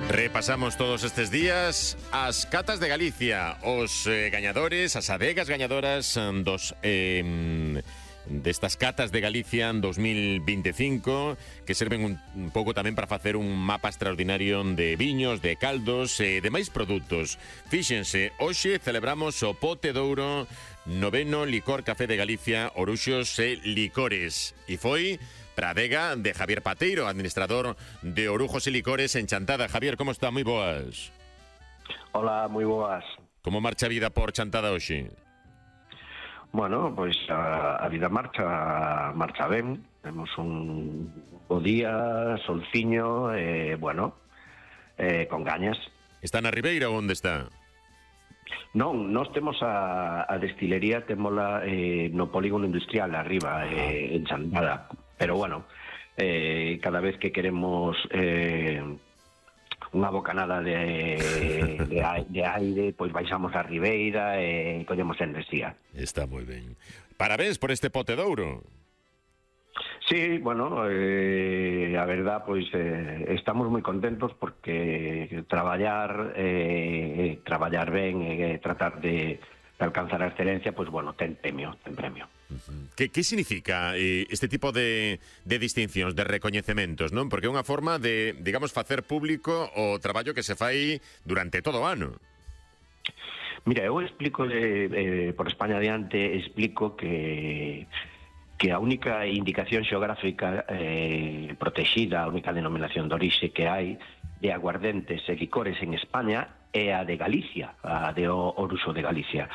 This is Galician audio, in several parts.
Repasamos todos estes días as catas de Galicia, os gañadores, as adegas gañadoras destas catas de Galicia en 2025, que serven un pouco tamén para facer un mapa extraordinario de viños, de caldos e de máis produtos. Fíxense, hoxe celebramos o Pote de Ouro, noveno licor café de Galicia, Oruxos e Licores. E foi para a adega de Javier Pateiro, administrador de Orujos e Licores en Chantada. Javier, como está? Moi boas. Hola, moi boas. Como marcha a vida por Chantada hoxe? Bueno, pois a vida marcha ben. Temos un bo día, solciño, con gañas. Está na Ribeira ou onde está? Non, nós temos a destilería, témola no polígono industrial arriba, en Chantada. Pero bueno, cada vez que queremos unha bocanada de aire, pois baixamos a Ribeira e collemos enerxía. Está moi ben. Parabéns por este Pote de Ouro. Sí, bueno, a verdad, pois estamos moi contentos porque traballar ben e tratar de alcanzar a excelencia, pois bueno, ten premio. Que significa este tipo de distincións, de recoñecementos, non? Porque é unha forma de, digamos, facer público o traballo que se fai durante todo o ano. Mira, eu explico por España adiante, explico que a única indicación xeográfica protexida, a única denominación de orixe que hai de aguardentes e licores en España é a de Galicia, a de Oruxo de Galicia.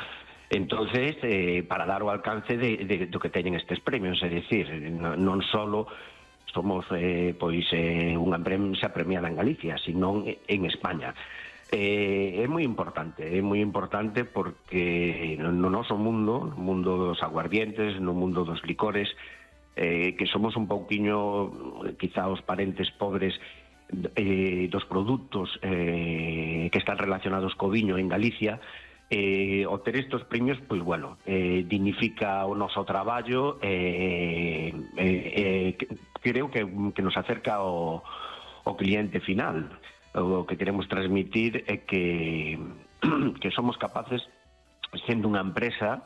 Entonces, para dar o alcance do que teñen estes premios, é dicir, non só somos unha empresa premiada en Galicia, sino en España. É moi importante porque no noso mundo, no mundo dos aguardientes, no mundo dos licores, que somos un pouquiño, quizá os parentes pobres dos produtos que están relacionados co viño en Galicia. O ter estos premios, pois bueno, dignifica o noso traballo, creo que nos acerca ao cliente final. O que queremos transmitir é que somos capaces, sendo unha empresa,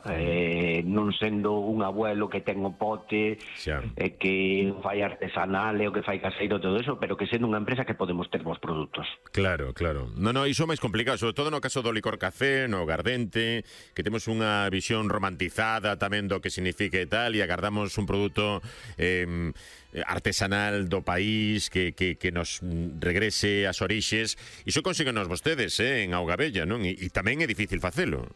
non sendo un abuelo que ten o pote, que fai artesanal e o que fai caseiro, todo eso, pero que sendo unha empresa que podemos ter bons produtos. Claro. Non, iso é máis complicado, sobre todo no caso do licor café, no aguardente, que temos unha visión romantizada tamén do que significa e tal, e agardamos un produto artesanal do país que nos regrese ás orixes. Iso consíguenos vostedes en Augabella, non? E tamén é difícil facelo.